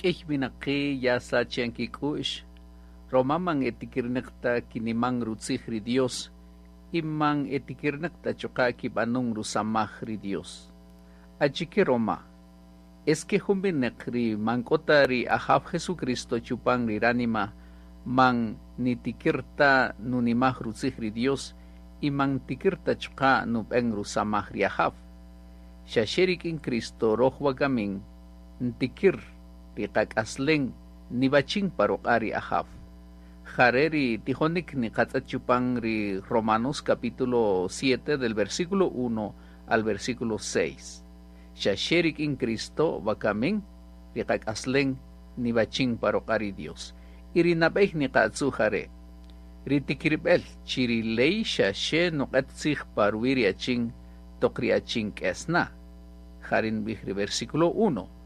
K'ïy winaqi' ya sachan kik'u'x, roma man etikirnäq ta kiniman rutzij ri Dios y man etikirnäq ta chuqa' kib'anun rusamaj ri Dios. Achike roma? Es que jun winäq ri man k'o ta ri Ajaw Jesucristo chupan ri ránima man nitikir ta nunimaj rutzij ri Dios y man ntikir ta chuqa' nub'än rusamaj ri Ajaw. Xa xe rik'in Cristo röj wakamin ntikir ri qak'aslem niwachin pa ruq'a' ri Ajaw. Jare' ri tijonik niqatz'ët chupan ri Romanos capítulo 7 del versículo 1 al versículo 6. Xa xe rik'in Cristo wakamin ri qak'aslem niwachin pa ruq'a' ri Dios. Y ri nab'ey niqatzu' jare', ri tikirb'el chi ri ley xa xe nuq'et tzij pa ruwi' ri achin toq ri achin k'es na. Jare' nub'ij ri versículo 1.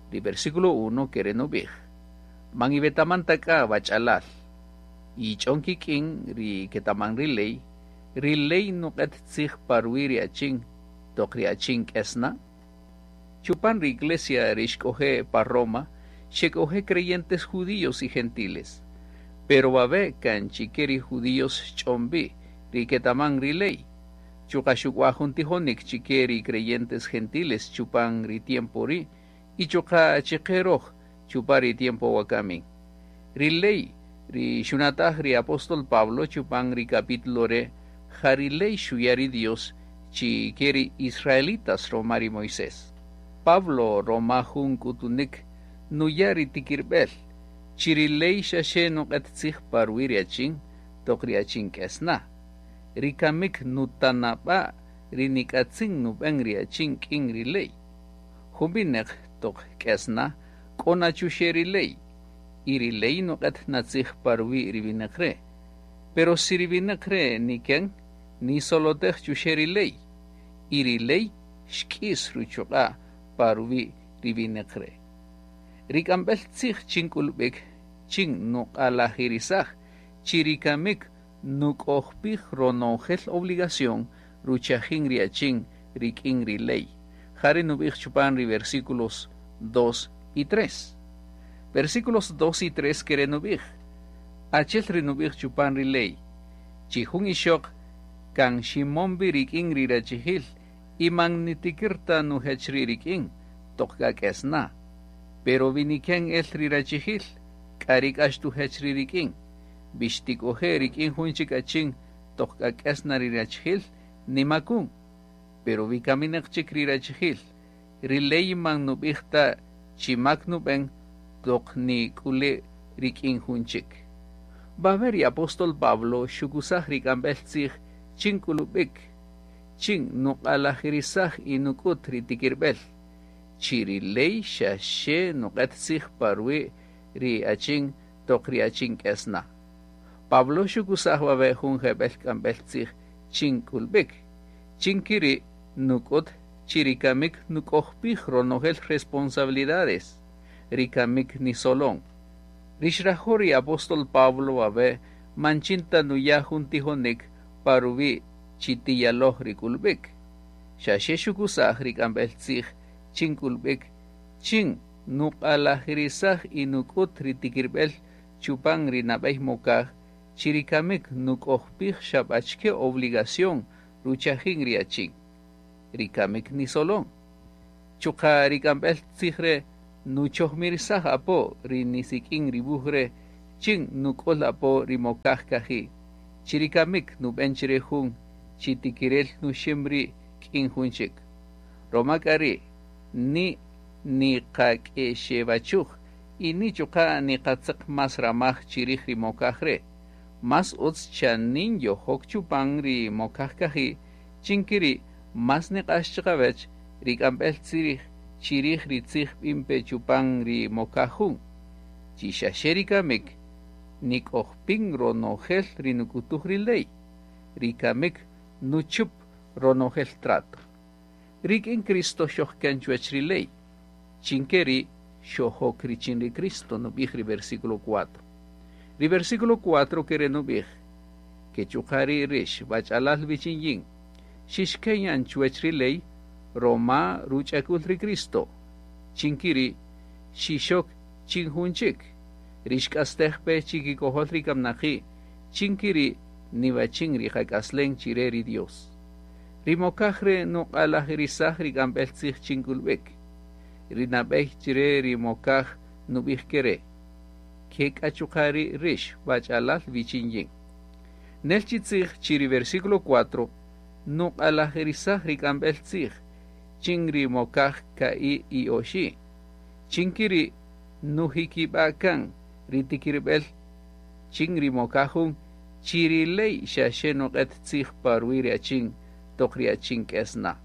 Ri versículo 1 kere' nub'ij: Man iwetaman ta k'a wach'alal, yich'on kik'in ri ketaman ri ley, ri ley nuq'et tzij pa ruwi' ri achin toq ri achin k'es na. Chupan ri iglesia ri xk'oje' pa Roma, xek'oje' creyentes judíos y gentiles. Pero wawe' kan chike ri judíos xch'on wi, ri ketaman ri ley. Chuqa' xuk'waj jun tijonik chike ri creyentes gentiles chupan ri tiempo ri' y chuqa' chike röj chupan ri tiempo wakamin. Ri ley ri xunataj ri apóstol Pablo chupan ri capítulo re' ja ri ley xuya' ri Dios chike ri israelitas roma ri Moisés. Pablo roma jun k'utunik nuya' ri tikirb'el chi ri ley xa xe nuq'et tzij pa ruwi' ri achin toq ri achin k'es na. Ri kamik nutanab'a' ri nik'atzin nub'än ri achin k'in ri ley. Jun winäq toq k'es na k'o na chuxe' ri ley y ri ley nuq'et na tzij pa ruwi' ri winäq re'. Pero si ri winäq re' niken, nisolotej chuxe' ri ley y ri ley xk'is ruchuq'a' pa ruwi' ri winäq re'. Ri k'amb'el tzij chin k'ulb'ik chin nuq'alajirisaj chi ri kamik nuk'ojpij ronojel obligación ruchajin ri achin rik'in ri ley. Jare' nub'ij chupan ri versículos 2 y 3. Versículos 2 y 3 kere' nub'ij: Achel ri nub'ij chupan ri ley, chi jun ixöq kan ximon wi rik'in ri rachijil y man nitikir ta nujech ri' rik'in toq k'a k'es na. Pero wi niken el ri rachijil, k'a ri k'a xtujech ri' rik'in. Wi xtik'oje' rik'in jun chik achin toq k'a k'es na ri rachijil, nimakun. Pero wi kaminäq chik ri rachijil, ri ley man nub'ij ta chi mak nub'än toq nik'ule' rik'in jun chik. Wawe' ri apóstol Pablo xukusaj ri k'amb'el tzij chin k'ulub'ik, chin nuq'alajirisaj y nuk'ut ri tikirb'el, chi ri ley xa xe nuq'et tzij pa ruwi' ri achin toq ri achin k'es na. Pablo xukusaj wawe' jun jeb'el k'amb'el tzij chin k'ulb'ik, chin kiri' nuk'ut chi ri kamik nuk'ojpij ronojel responsabilidades, ri kamik nisolon. Ri xrajo' ri apóstol Pablo wawe' man chin ta nuya' jun tijonik pa ruwi' chi tiyaloj ri k'ulb'ik. Xa xe xukusaj ri k'amb'el tzij chin k'ulb'ik chin nuq'alajirisaj y nuk'ut ri tikirb'el chupan ri nab'ey mokaj chi ri kamik nuk'ojpij xa b'achike obligación ruchajin ri achin. Ri kamik nisolon. Chuqa' ri k'amb'el tzij re' nuchojmirisaj apo ri nisik'in ri wuj re' chin nuk'ul apo ri mokaj kaji'. Chi ri kamik nub'än chire jun chi tikirel nuxim ri' k'in jun chik. Roma k'a ri' ni niqak'exewachuj y ni chuqa' niqatzeq más ramaj chirij ri mokaj re'. Más utz chanin yojok chupan ri mokaj kaji' chin kiri' más niq'ax chiqawech ri k'amb'el tzij chirij ri tzij b'in pe chupan ri mokaj jun. Chi xa xe ri kamik nik'ojpin ronojel ri nuk'utuj ri ley. Ri kamik nuchup ronojel trato. Rik'in Cristo xojken chuwech ri ley. Chin keri' xojok richin ri Cristo nub'ij ri versículo 4. Ri versículo 4 kere' nub'ij: Ke chuqa' ri' rix wach'alal wichin yin, xixken yan chuwech ri ley roma ruch'akul ri Cristo. Chin kiri' xixok chin jun chik, ri xk'astej pe chikikojol ri kamnaqi', chin keri' niwachin ri qak'aslen chire ri Dios. Ri mokaj re' nuq'alajirisaj ri k'amb'el tzij chin k'ulb'ik. Ri nab'ey chire ri mokaj nub'ij kere': Ke k'a chuqa' ri' rix wach'alal wichin yin. Nel chi tzij chi ri versículo 4 nuq'alajirisaj ri k'amb'el tzij chin ri mokaj ka'i' y oxi'. Chin keri' nujikib'a' kan ri tikirb'el chin ri mokaj jun chi ri ley xa xe nuq'et tzij pa ruwi' ri achin toq ri achin k'es na.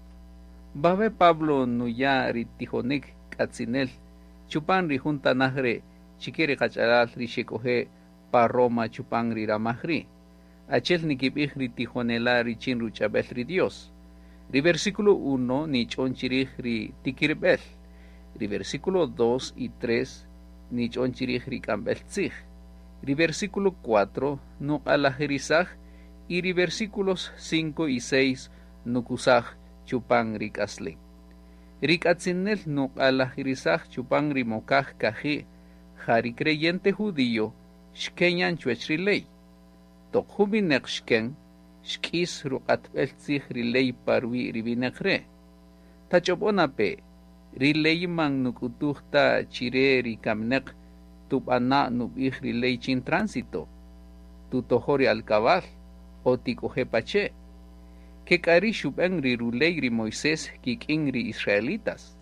Wawe' Pablo nuya' ri tijonik k'atzinel chupan ri jun tanaj re' chike ri qach'alal ri xek'oje' pa Roma chupan ri ramaj ri'. Achel nikib'ij ri tijonela' richin ruch'ab'el ri Dios. Ri versículo 1 nich'on chirij ri tikirb'el. Ri versículo 2 y 3 nich'on chirij ri k'amb'el tzij. Ri versículo 4 nuq'alajirisaj y ri versículos 5 y 6 nukusaj chupan ri k'aslen. Ri k'atzinel nuq'alajirisaj chupan ri mokaj kaji' ja ri creyente judío xkenyan chuwech ri ley. Toq jun wineq xken, xk'is ruq'atb'el tzij ri ley pa ruwi' ri wineq re'. Tach'ob'on ape', ri ley man nuk'utuj ta chire ri kamineq tub'ana' nub'ij ri ley chin tránsito, tutojo ri alkabal o tik'oje' pache'. Ke k'a ri' xub'en ri ruley ri Moisés kik'in ri israelitas.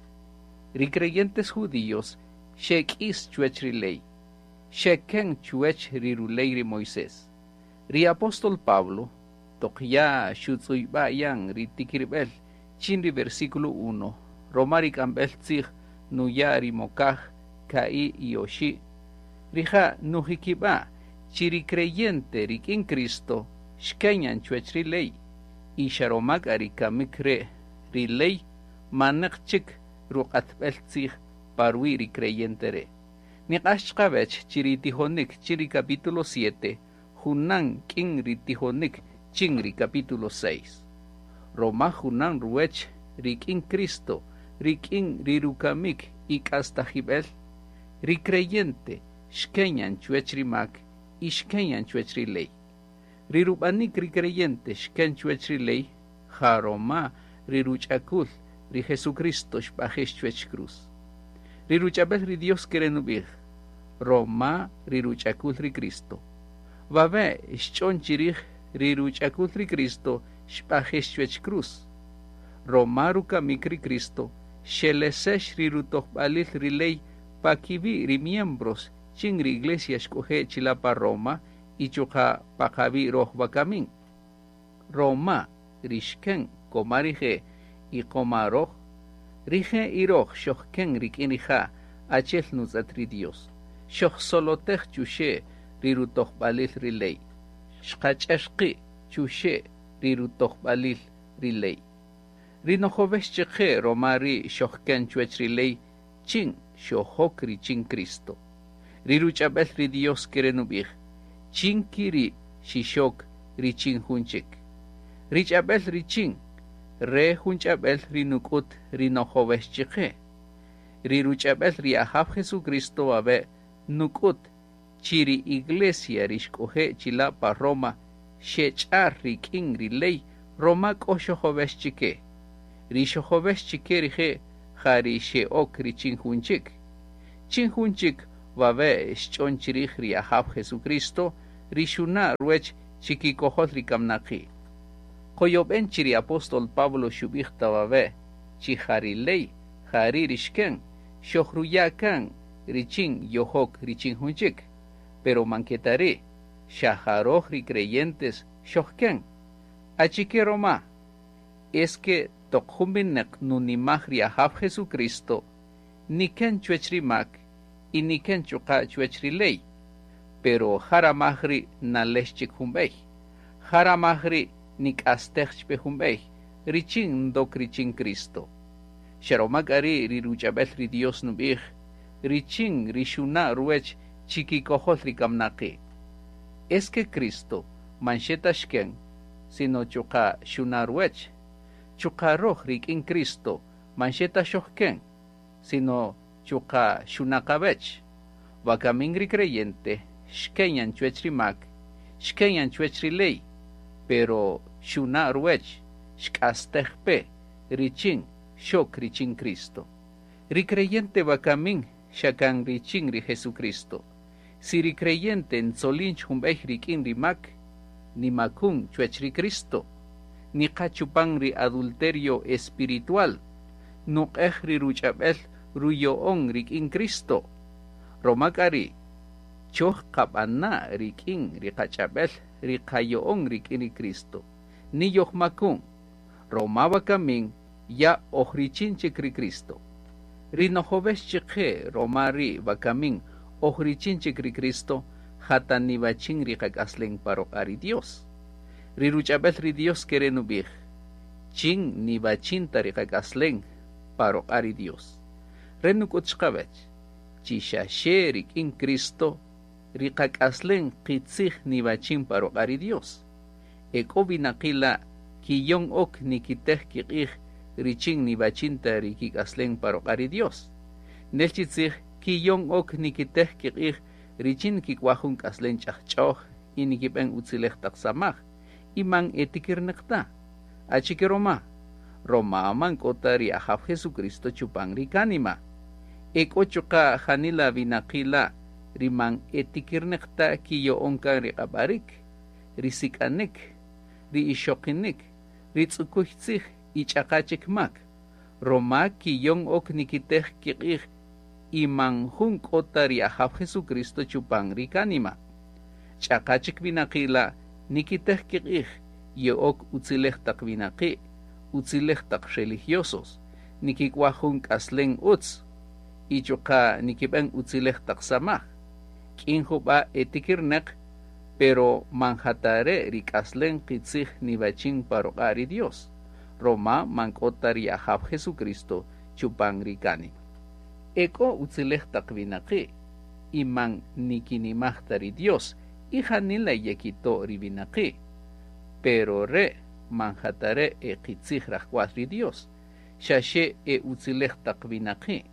Ri creyentes judíos xek'is chuwech ri ley, xeken chuwech ri ruley ri Moisés. Ri apóstol Pablo toq ya xutz'uyb'a' yan ri tikirb'el chin ri versículo 1, roma ri k'amb'el tzij nuya' ri mokaj ka'i' y oxi', rija' nujikib'a' chi ri creyente rik'in Cristo xkenyan chuwech ri ley, y xa roma k'a ri kamik re' ri ley maneq chik ruq'atb'el tzij pa ruwi' ri creyente re'. Niq'ax chiqawech chi ri tijonik chin ri capítulo 7 junan k'in ri tijonik chin ri capítulo 6. Roma junan ruwech rik'in Cristo, rik'in ri rukamik y k'astajib'el, ri creyente xkenyan chuwech ri mak y xkenyan chuwech ri ley. Ri rub'anik ri creyente xken chuwech ri ley, ja roma ri ruch'akul ri Jesucristo xb'ajex chuwech cruz. Ri ruch'ab'el ri Dios kere' nub'ij, roma ri ruch'akul ri Cristo. Wawe' xch'on chirij ri ruch'akul ri Cristo xb'ajex chuwech cruz. Roma rukamik ri Cristo xelesex ri rutojb'alil ri ley pa kiwi' ri miembros chin ri iglesia xk'oje' chila' pa Roma y chuqa' pa qawi' roj wakamin. Roma ri xken koma rije' y koma roj, rije' y roj xojken rik'in rija' achel nutz'et ri Dios. Xojsolotej chuxe' ri rutojb'alil ri ley. Xqach'er qi' chuxe' ri rutojb'alil ri ley. Ri nojowex chiqe roma ri xojken chuwech ri ley chin xojok richin Cristo. Ri ruch'ab'el ri Dios kere' nub'ij, chin kiri' xixok richin jun chik. Ri ch'ab'el richin, re jun ch'ab'el ri nuk'ut ri nojowex chiqe. Ri ruch'ab'el ri Ajaw Jesucristo wawe' nuk'ut chi ri iglesia ri xk'oje' chila' pa Roma xech'ar rik'in ri ley roma k'o xojowex chike. Ri xojowex chike rije' ja ri xe'ok richin jun chik. Chin jun chik wawe' xch'on chirij ri Ajaw Jesucristo ri xuna' ruwech chikikojol ri kamnaqi'. Qoyob'en chi ri apóstol Pablo xub'ij ta wawe' chi ja ri ley ja ri' ri xken xojruya' kan richin yojok richin jun chik. Pero man ke ta ri', xa ja roj ri creyentes xojken. Achike roma? Es que toq jun wineq nunimaj ri Ajaw Jesucristo, niken chuwech ri mak y niken chuqa' chuwech ri ley. Pero ja ramaj ri' nalex chik jun b'ey. Ja ramaj ri' nik'astej chpe jun b'ey, richin ndok richin Cristo. Xa roma k'a ri' ri ruch'ab'el ri Dios nub'ij, richin ri xuna' ruwech chikikojol ri kamnaqi'. Es que Cristo man xe ta xken, sino chuqa' xuna' ruwech. Chuqa' roj rik'in Cristo man xe ta xojken, sino chuqa' xuna' qawech. Wakamin ri creyente xken yan chuwech ri mak, xken yan chuwech ri ley, pero xuna' ruwech, xk'astej pe richin xok richin Cristo. Ri creyente wakamin xa kan richin ri Jesucristo. Si ri creyente ntzolin jun b'ey rik'in ri mak, nimakun chuwech ri Cristo, niqa chupan ri adulterio espiritual, nuq'ej ri ruch'ab'el ruyo'on rik'in Cristo. Roma k'a ri' choj qab'ana' rik'in ri qach'ab'el ri qayo'on rik'in ri Cristo. Ni yojmakun, roma wakamin ya oj richin chik ri Cristo. Ri nojovex chiqe roma ri wakamin oj richin chik ri Cristo, jata niwachin ri qak'aslen pa ruq'a' ri Dios. Ri ruch'ab'el ri Dios kere' nub'ij, chin niwachin ta ri qak'aslen pa ruq'a' ri Dios. Re nuk'ut chiqawech, chi xa xe rik'in Cristo ri qak'aslen qitzij niwachin pa ruq'a' ri Dios. E k'o winaqi' la' kiyon ok nikitej kiq'ij richin niwachin ta ri kik'aslen pa ruq'a' ri Dios. Nel chi tzij kiyon ok nikitej kiq'ij richin kik'waj jun k'aslen ch'ajch'oj y nikib'en utzilej taq samaj y man etikirneq ta. Achike roma? Roma man k'o ta ri Ajaw Jesucristo chupan ri kánima. E k'o chuqa' janila winaqi' la' ri man etikirneq ta kiyo'on kan ri q'ab'arik, ri sik'anik, ri ixoqinik, ri tz'ukuy tzij y ch'aqa chik mak. Roma kiyon ok nikitej kiq'ij y man jun k'o ta ri Ajaw Jesucristo chupan ri kánima. Ch'aqa chik winaqi' la' nikitej kiq'ij ye'ok utzilej taq winaqi', utzilej taq religiosos, nikik'waj jun k'aslen utz y chuqa' nikib'en utzilej taq samaj. K'in jub'a' etikirneq, pero man jatare' ri k'aslen qitzij niwachin pa ruq'a' ri Dios. Roma man k'o ta ri Ajaw Jesucristo chupan ri kánima. E k'o utzilej taq winaqi' y man nikinimaj ta ri Dios y janila yekito' ri winaqi'. Pero re' man jatare' e qitzij rajk'wal ri Dios, xa xe e utzilej taq winaqi'.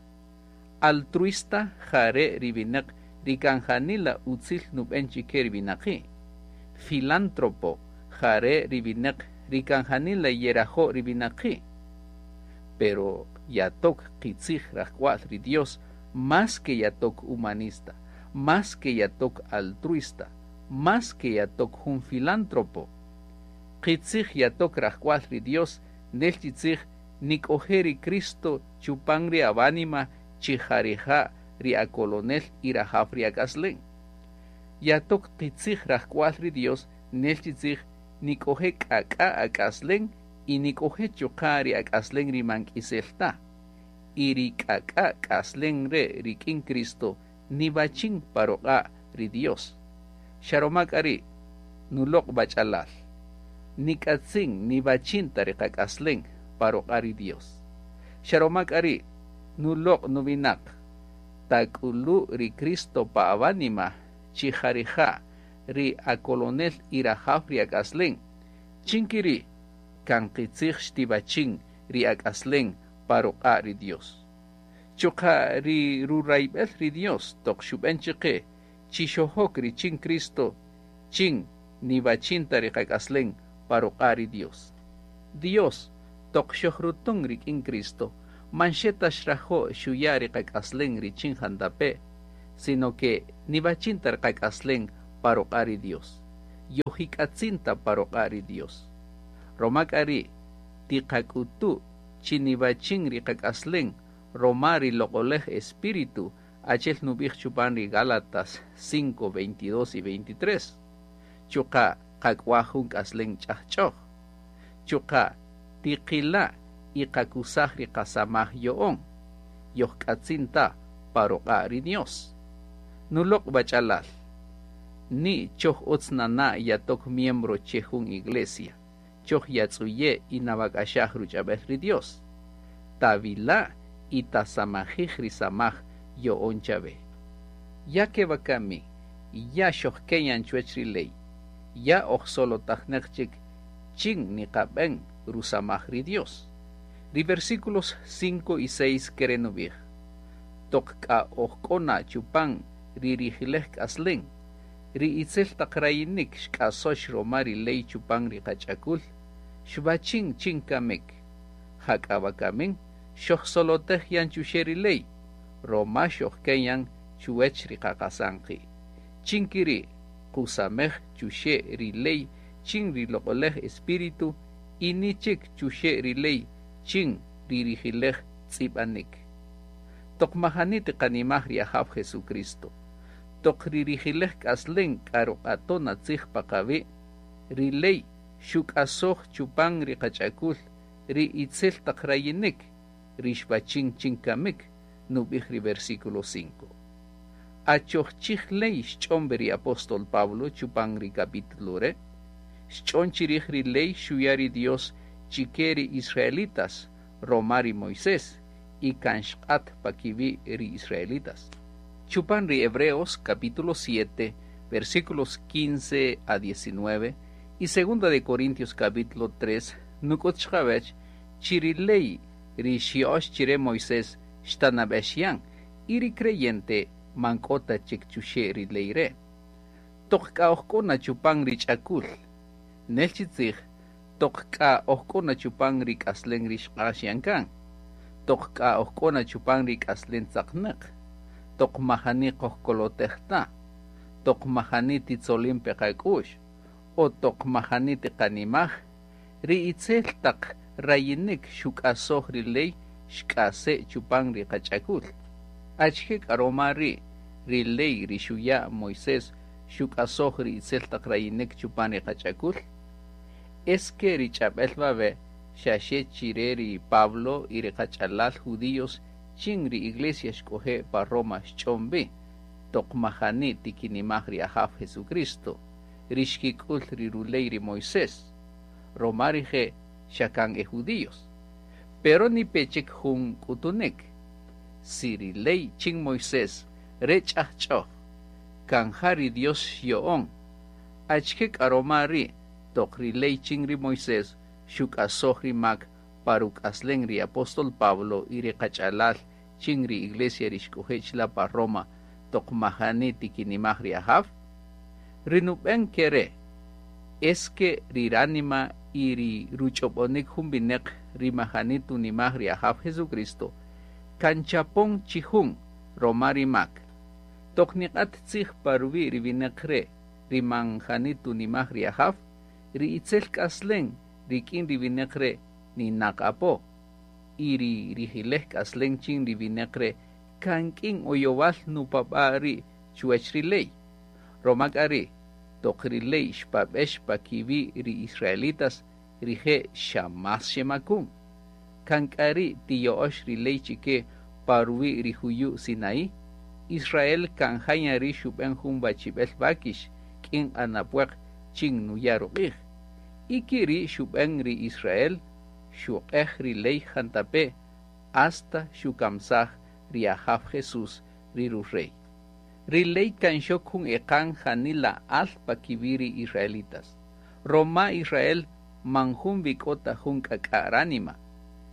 Altruista jare' ri winaq ri kan janila utzil nub'en chike ri winaqi'. Filántropo jare' ri winaq ri kan janila yerajo' ri winaqi'. Pero yatok qitzij rajk'wal ri Dios más que yatok humanista, más que yatok altruista, más que yatok jun filántropo. Qitzij yatok rajk'wal ri Dios nel chi tzij nik'oje' ri Cristo chupan ri awánima chi jarija' ri akolonel y rajaw ri ak'aslen. Yatok qitzij rajk'wal ri Dios nel chi tzij nik'oje' k'ak'a ak'aslen y nik'oje' chuqa' ri ak'aslen ri man k'isel ta. Y ri k'ak'a k'aslen re' rik'in Cristo niwachin pa ruq'a' ri Dios. Xa roma k'a ri' nuloq' b'ach'alal. Nik'atzin niwachin ta ri qak'aslen pa ruq'a' ri Dios. Xa roma k'a ri' nuloq' nuwinaq tak'ulu' ri Cristo pa awánima chi jarija' ri akolonel y rajaw ri ak'aslen. Chin kiri' kan qitzij xtiwachin ri ak'aslen pa ruq'a' ri Dios. Chuqa' ri rurayb'el ri Dios toq xub'en chiqe chi xojok richin Cristo chin niwachin ta ri qak'aslen pa ruq'a' ri Dios. Dios toq xojrutun rik'in Cristo man xe ta xrajo' xuya' ri qak'aslen richin jantape', sino que niwachin ta ri qak'aslen pa ruq'a' ri Dios. Yojik'atzin ta pa ruq'a' ri Dios. Roma k'a ri' tiqak'utu' chi niwachin ri qak'aslen roma ri loq'olej Espíritu achel nub'ij chupan ri Gálatas 5, 22 y 23. Chuqa' qak'waj jun k'aslen ch'ajch'oj. Chuqa' tiqila' y qakusaj ri qasamaj yo'on. Yojk'atzin ta pa ruq'a' ri Dios. Nuloq' b'ach'alal. Ni choj utz nana' yatok miembro che jun iglesia. Choj yatz'uye' y nawak'axaj ruch'ab'el ri Dios. Tawila' y tasamajij ri samaj yo'on chawe. Ya ke wakami, ya xojkeyan chuwech ri ley. Ya oj solotajneq chik chin niqab'en rusamaj ri Dios. Ri versículos 5 y 6 kere nub'ij. Toq k'a oj k'o na chupan ri rijilej k'aslen, ri itzel taq rayinik xk'asöx roma ri ley chupan ri qach'akul, xwachin chin kamik. Jak'a wakamin xojsolotej yan chuxe' ri ley, roma xojken yan chuwech ri qaqasan qi'. Chin kiri' qusamej chuxe' ri ley chin ri Loq'olej Espíritu y ni chik chuxe' ri ley chin ri rijilej tz'ib'anik. Toq majani tiqanimaj ri Ajaw Jesucristo, toq ri rijilej k'aslen k'a ruq'aton tzij pa qawi', ri ley xuk'asoj chupan ri qach'akul ri itzel taq rayinik ri xwachin chin kamik, nub'ij ri versículo 5. Achoj chij ley xch'on ri apóstol Pablo chupan ri capítulo re', xch'on chirij ri ley xuya' ri Dios chike ri israelitas roma ri Moisés y kan xq'at pa kiwi' ri israelitas. Chupan ri Hebreos capítulo 7, versículos 15 a 19 y segunda de Corintios capítulo 3, nuk'ut chqawech chi ri ley ri xya'ox chire Moisés xtanab'ex yan y ri creyente man k'o ta chik chuxe' ri ley re'. Toq k'a oj k'o na chupan ri ch'akul, nel chi tzij, toq k'a oj k'o na chupan ri k'aslen ri xq'ax yan kan, toq k'a oj k'o na chupan ri k'aslen tzaqnäq, toq majani qojkolotej ta, toq majani titzolin pe qak'u'x, o toq majani tiqanimaj, ri itzel taq rayinik xuk'asoj ri ley xk'ase' chupan ri qach'akul. Achike k'a roma ri' ri ley ri xuya' Moisés xuk'asoj ri itzel taq rayinik chupan ri qach'akul? Es que ri ch'ab'el wawe' xaxe chire ri Pablo y ri qach'alal judíos chin ri iglesia xk'oje' pa Roma xch'on wi, toq majani tikinimaj ri Ajaw Jesucristo, ri xkik'ul ri ruley ri Moisés, roma rije' xa kan e judíos. Pero ni pe chik jun k'utunik. Si ri ley chin Moisés re ch'ajch'oj, kan ja ri Dios xyo'on, achike k'a roma ri' toq ri ley chin ri Moisés xuk'asoj ri mak pa ruk'aslen ri apóstol Pablo y ri qach'alal chin ri iglesia ri xk'oje' chila' pa Roma toq majani tikinimaj ri Ajaw? Ri nub'en kere' es que ri ránima y ri ruch'ob'onik jun wineq ri majani tunimaj ri Ajaw Jesucristo kan chapon chi jun roma ri mak. Toq niq'at tzij pa ruwi' ri wineq re' ri man jani tunimaj ri Ajaw, ri itzel k'aslen rik'in ri wineq re' ninaq apo, y ri rijilej k'aslen chin ri wineq re' kan k'in oyowal nupab'a' ri' chuwech ri ley. Roma k'a ri' toq ri ley xpab'ex pa kiwi' ri israelitas, rije' xa más xemakun. Kan k'a ri' tiyo'ox ri ley chike pa ruwi' ri juyu' Sinaí, Israel kan ja ri xub'en jun wachib'el wakix k'in q'anapwaq chin nuya' ruq'ij. Y kiri' xub'en ri Israel xuq'ej ri ley jantape' hasta xukamsaj ri Ajaw Jesús ri rurey. Ri ley kan xok jun eqan janila al pa kiwi' ri israelitas. Roma Israel man jun wi k'o ta jun k'ak'a' ránima.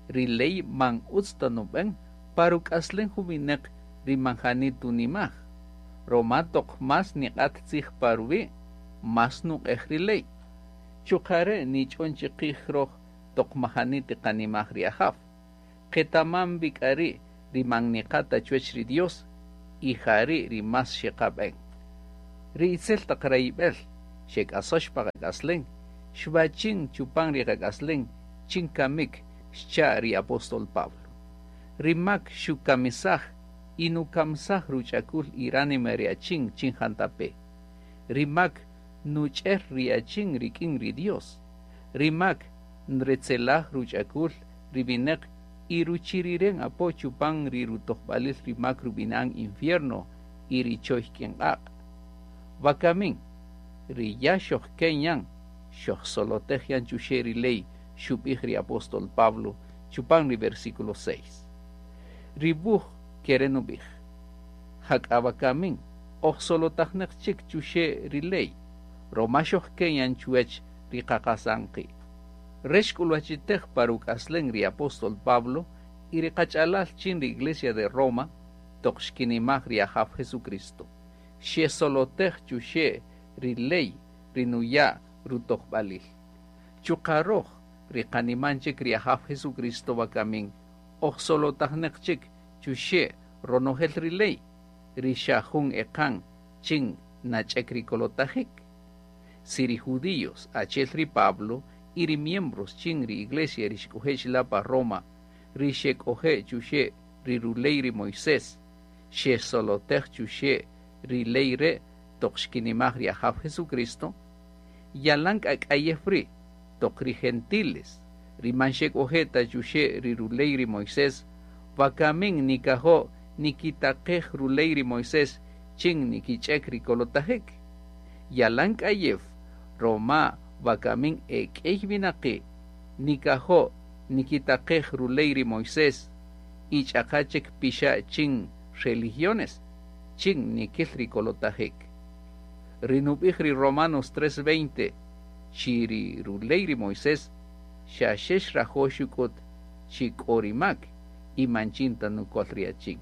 Ri ley man utz ta nub'en pa ruk'aslen jun wineq ri man jani tunimaj. Roma toq más niq'at tzij pa ruwi', más nuq'ej ri ley. Chuqa' re' nich'on chiqij roj toq majani tiqanimaj ri Ajaw. Qetaman wi k'a ri' ri man niqa' ta chuwech ri Dios y ja ri' ri más xeqab'en. Ri itzel taq rayib'el xek'asöx pa qak'aslen, xwachin chupan ri qak'aslen chin kamik xcha' ri apóstol Pablo. Ri mak xukamisaj y nukamsaj ruch'akul y ránima ri achin chin jantape. Ri mak nuch'er ri achin rik'in ri Dios. Ri mak nretzelaj ruch'akul ri wineq y ruchiriren apo chupan ri rutojb'alil ri mak rub'inan infierno y ri choy k'in q'aq'. Wakamin, ri ya xojken yan, xojsolotej yan chuxe' ri ley xub'ij ri apóstol Pablo chupan ri versículo 6. Ri wuj kere nub'ij, jak'a wakamin, ojsolotajneq chik chuxe' ri ley, roma xojken yan chuwech ri qaqasan qi'. Re xk'ulwachitej pa ruk'aslen ri apóstol Pablo y ri qach'alal chin ri iglesia de Roma toq xkinimaj ri Ajaw Jesucristo. Xesolotej chuxe' ri ley ri nuya' rutojb'alil. Chuqa' roj ri qaniman chik ri Ajaw Jesucristo wakamin oj solotajneq chik chuxe' ronojel ri ley ri xa jun eqan chin nach'ek ri kolotajik. Si ri judíos achel ri Pablo y ri miembros chin ri iglesia ri xk'oje' chila' pa Roma ri xek'oje' chuxe' ri ruley ri Moisés xesolotej chuxe' ri ley re' toq xkinimaj ri Ajaw Jesucristo, yalan k'a k'ayew ri' toq ri gentiles ri man xek'oje' ta chuxe' ri ruley ri Moisés wakamin nikajo' nikitaqej ruley ri Moisés chin nikich'ek ri kolotajik. Yalan k'ayew roma wakamin e k'ey winaqi' nikajo' nikitaqej ruley ri Moisés y ch'aqa chik pixa' chin religiones chin nikil ri kolotajik. Ri nub'ij ri Romanos 3:20 chi ri ruley ri Moisés xa xe xrajo' xuk'ut chi k'o ri mak y man chin ta nukol ri achin.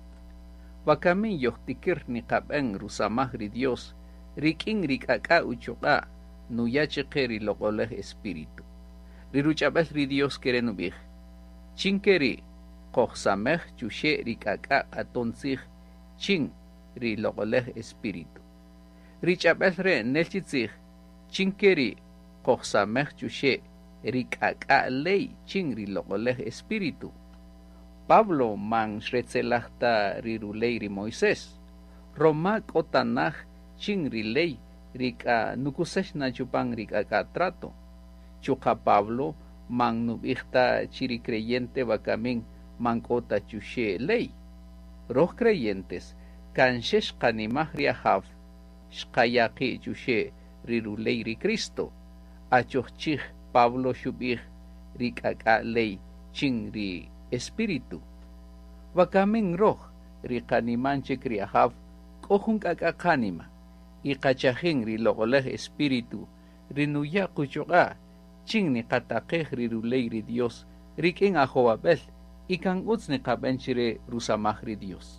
Wakamin yojtikir niqab'en rusamaj ri Dios rik'in ri k'ak'a' uchuq'a' nuya' chiqe ri loq'olej Espíritu. Ri ruch'ab'el ri Dios kere' nub'ij, chin ke ri' qojsamej chuxe' ri k'ak'a' q'aton tzij chin ri loq'olej Espíritu. Ri ch'ab'el re' nel chi tzij, chin ke ri' qojsamej chuxe' ri k'ak'a' ley chin ri loq'olej Espíritu. Pablo man xretzelaj ta ri ruley ri Moisés, roma k'o tanaj chin ri ley ri k'a nukusex na chupan ri k'ak'a' trato. Chuqa' Pablo man nub'ij ta chi ri creyente wakamin man k'o ta chuxe' ley. Roj creyentes kan xe xqanimaj ri Ajaw xqaya' qi' chuxe' ri ruley ri Cristo. Achoj chij Pablo xub'ij ri k'ak'a' ley chin ri Espíritu. Wakamin roj ri qaniman chik ri Ajaw k'o jun k'ak'a' qanima y qachajin ri loq'olej Espíritu ri nuya' quchuq'a' chin niqataqej ri ruley ri Dios rik'in ajowab'el y kan utz niqab'en chire rusamaj ri Dios.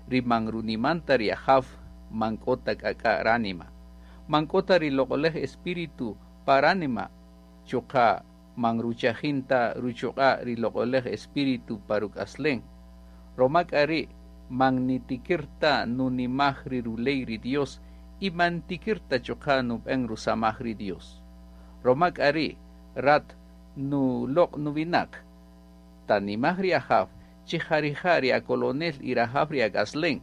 Ri man runiman ta ri Ajaw man k'o ta k'ak'a' ránima, man k'o ta ri loq'olej Espíritu pa ránima, chuqa' man ruchajin ta ruchuq'a' ri loq'olej Espíritu pa ruk'aslen. Roma k'a ri' man nitikir ta nunimaj ri ruley ri Dios y man tikir ta chuqa' nub'en rusamaj ri Dios. Roma k'a ri' rat nuloq' nuwinaq, tanimaj ri Ajaw chi jarija' ri akolonel y rajaw ri ak'aslen,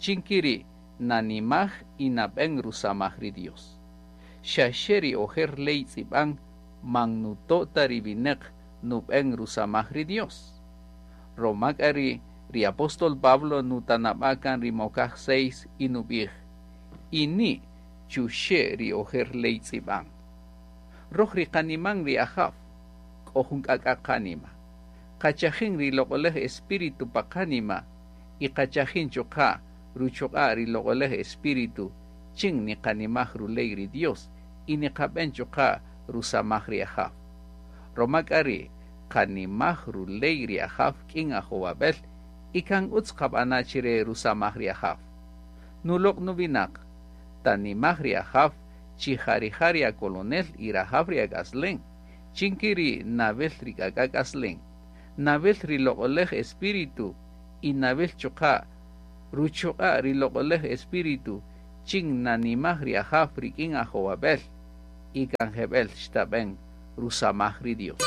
chin kiri' nanimaj y nab'en rusamaj ri Dios. Xa xe ri ojer ley tz'ib'an man nuto' ta ri winaq nub'en rusamaj ri Dios. Roma k'a ri ri apóstol Pablo nutanab'a' kan ri mokaj 6 y nub'ij, ini chuxe' ri ojer ley tz'ib'an. Roj ri qaniman ri Ajaw, k'o jun k'ak'a' qanima. Qachajin ri loq'olej Espíritu pa qanima y qachajin chuqa' ruchuq'a' ri loq'olej Espíritu chin niqanimaj ruley ri Dios y niqab'en chuqa' rusamaj ri Ajaw. Roma k'a ri' qanimaj ruley ri Ajaw k'in ajowab'el y kan utz qab'ana' chire rusamaj ri Ajaw. Nuloq' nuwinaq, tanimaj ri Ajaw chi jarija' ri akolonel y rajaw ri ak'aslen, chin kiri nawel ri k'ak'a' k'aslen, nawel ri loq'olej Espíritu y nawel chuqa' ruchuq'a' ri loq'olej Espíritu chin nanimaj ri Ajaw rik'in ajowab'el y kan jeb'el xtab'en rusamaj ri Dios.